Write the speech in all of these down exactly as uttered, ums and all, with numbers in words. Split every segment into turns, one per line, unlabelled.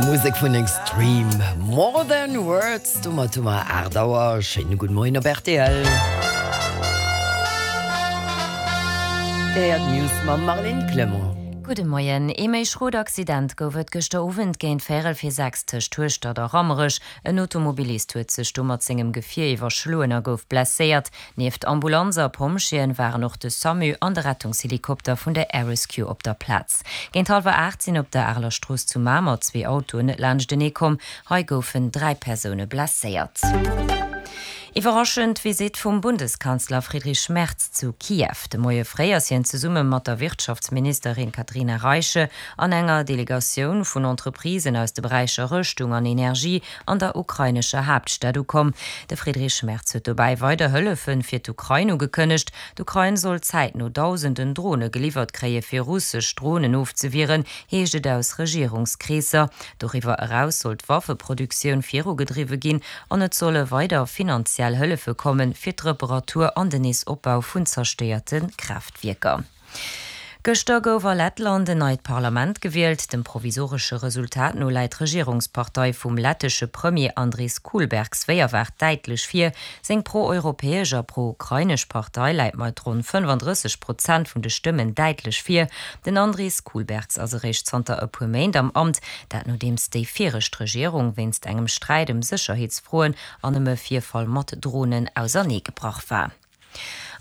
Musek vun Extreme, More Than Words. Domat hu mer aacht Auer. Schéine gudde Moien op rtl. Dir héiert d'News mam Marlène Clement.
Gudde Moien. Ee méi schrot Accident gouf et gëschter Owend géint véierel vir sechs tëscht Hueschtert a Rammerech. En Automobilist huet sech do mat sengem Gefier iwwerschloen a gouf blesséiert. Nieft Ambulanz a Pompjeeën waren och de Samu an de Rettungshelikopter vun der Air Rescue op der Plaz. Géint hallwer aacht sinn op der Areler Strooss zu Mamer zwee Autoen net laanschtenee komm. Hei goufen dräi Persoune blesséiert. Iwwerraschend Visitt vum Bundeskanzler Friedrich Merz zu Kiew. De Moie fréi ass hien zesumme mat der Wirtschaftsministerin Katharina Reiche an enger Delegatioun vun Entreprisen aus de Beräicher Rëschtung an Energie an der ukrainescher Haaptstad ukomm. De Friedrich Merz huet dobäi weider Hëllefe fir d'Ukrain ugekënnegt. D'Ukrain soll zäitno dausenden Drone geliwwert kréie fir russesch Dronen ofzewieren, heescht et aus Regierungskreesser. Doriwwer eraus soll d'Waffeproduktioun virugedriwwe ginn an et solle weider finanziell Hëllefe kommen, fir d'Reparatur an den Neesopbau vun zerstéierte Kraaftwierker. Gëschter gouf a Lettland en neit Parlament gewielt. Dem provisoresche Resultat no läit d'Regierungspartei vum lettesche Premier Andris Kulbergs wéi erwaart däitlech vir. Seng pro-europäesch a pro-ukrainesch Partei läit mat ronn fënnefandrësseg Prozent vun de Stëmmen däitlech vir. Den Andris Kulbergs ass eréischt zanter e puer Méint am Amt, dat nodeems déi viregt Regierung wéinst engem Sträit ëm Sécherheetsfroen an ëm e Virfall mat Dronen auserneegebrach war.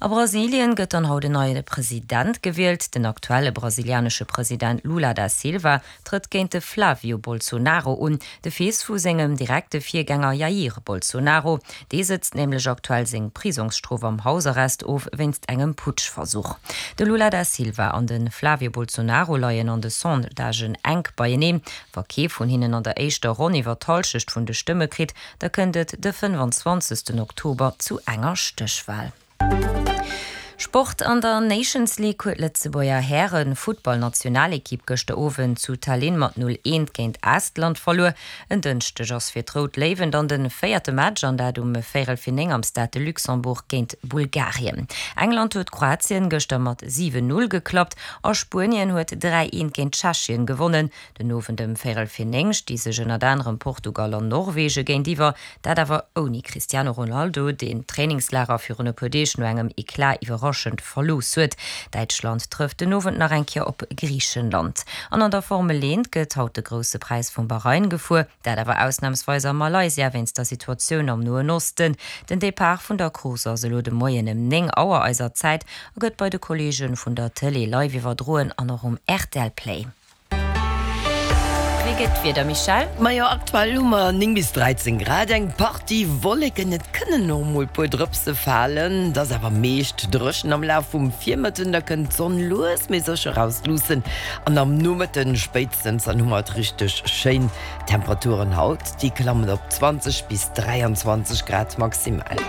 A Brasilien gëtt dann haut en neie President gewielt. Den aktuelle brasilianesche President Lula da Silva trëtt géint de Flavio Bolsonaro un, de Fils vu sengem direkte Virgänger Jair Bolsonaro. Dee sëtzt nämlech aktuell seng Prisongsstrof am Hausarrest of wéinst engem Putschversuch. De Lula da Silva an de Flavio Bolsonaro leien an de Sondagen enk beieneen. Wa kee vun hinnen an der éischter Ronn iwwer d'Hallschecht vun de Stëmme kritt, da kënnt et de fënnfanzwanzegsten Oktober zu enger Stéchwal. Sport, An der Nations League huet d'Lëtzebuerger Häre-Futtballnationalekipp gëschter Owend zu Tallinn mat null eent géint Estland verluer. En Dënschdeg ass fir d'Rout Léiwen dann de véierte Match an dat um véierel vir néng am Stade de Luxembourg géint Bulgarien. England huet Kroatien gëschter mat siwen null geklappt a Spuenien huet dräi eent géint Tschechien gewonnen. Den Owend ëm véierel vir néng sti sech ënnert anerem Portugal an Norwege géintiwwer, dat awer ouni Cristiano Ronaldo, deen d'Trainingslager virun e puer Deeg no engem Eclat iwwerraschend verlooss huet. Däitschland trëfft den Owend nach eng Kéier op Griichenland. An an der Formel eent gëtt haut de Grousse Präis vum Bahrain gefuer, dat awer ausnamsweis a Malaysia wéinst der Situatioun am Noen Osten. Den Depart vun der Course ass elo de Moien ëm néng Auer eiser Zäit a gëtt bei de Kolleege vun der Tëlee live iwwerdroen an och um rtl Play. Wéi gëtt d'Wieder, Michèle?
Majo, aktuell hu mer néng bis dräizéng Grad, eng Partie Wolleken, et kënnen och mol puer Drëpse falen, et ass awer meescht dréchen. Am Laf vum Virmëtten da kënnt d'Sonn lues mee sécher erausluussen an am Nomëtten spéitstens dann hu mer et richteg schéin. D'Temperaturen haut, déi klammen op zwanzeg bis dräianzwanzeg Grad maximal.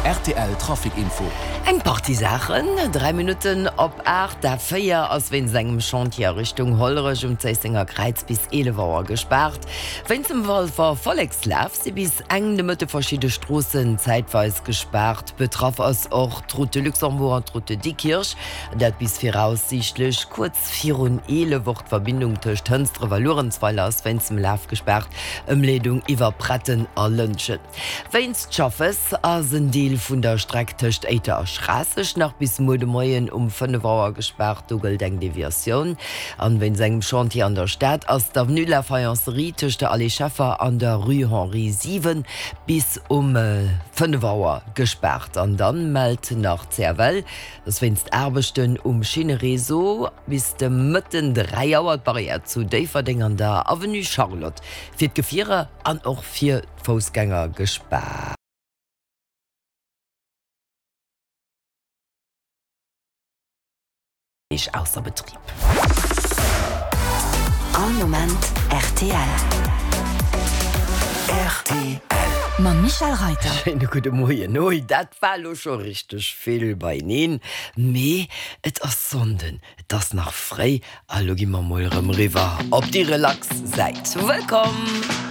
Rtl Trafic Info.
Eng Partie Saachen, Dräi Minutten op aacht, d'A véier ass wéinst engem Chantier a Richtung Hollerech um Zéissenger Kräiz bis eelef Auer gespaart. Wéinst dem Walfer Vollekslaf si bis eng de Mëtte verschidde Stroossen zäitweis gespaart. Betraff ass och d'Route de Luxembourg an d'Route de Diekirch, dat bis viraussiichtlech kuerz virun eelef. Och d'Verbindung tëscht Hënsdref a Luerenzweiler ass wéinst dem Laf gespaart, Ëmleedung iwwer Pretten a Lëntgen. Wéinst Schaffes ass en Deel vun der Streck tëscht Éiter a Schraasseg nach bis muer de Moien um fënnef Auer gespaart. Do gëllt eng Deviatioun. An wéinst engem Chantier an der Stad ass d'Avenue de la Faïencerie tëscht der Allée Scheffer an der Rue Henri siwen bis um fënnef Auer gespaart. An dann mellt nach d'CFL, dass wéinst Aarbechten um Schinnereseau bis de Mëtten dräi Auer d'Barrière zu Déifferdeng an der Avenue Charlotte fir d'Gefierer an och fir d'Foussgänger gespaart ausser Betrib.
All Moment rtl.
Rtl.
Mam Michèle Reyter.
Schéine gudde Moien. Ui, dat war elo scho richteg vill beieneen, mee et ass Sonnden, et ass nach fréi a lo gi mer mol erëm eriwwer op déi relax Säit. Wëllkomm!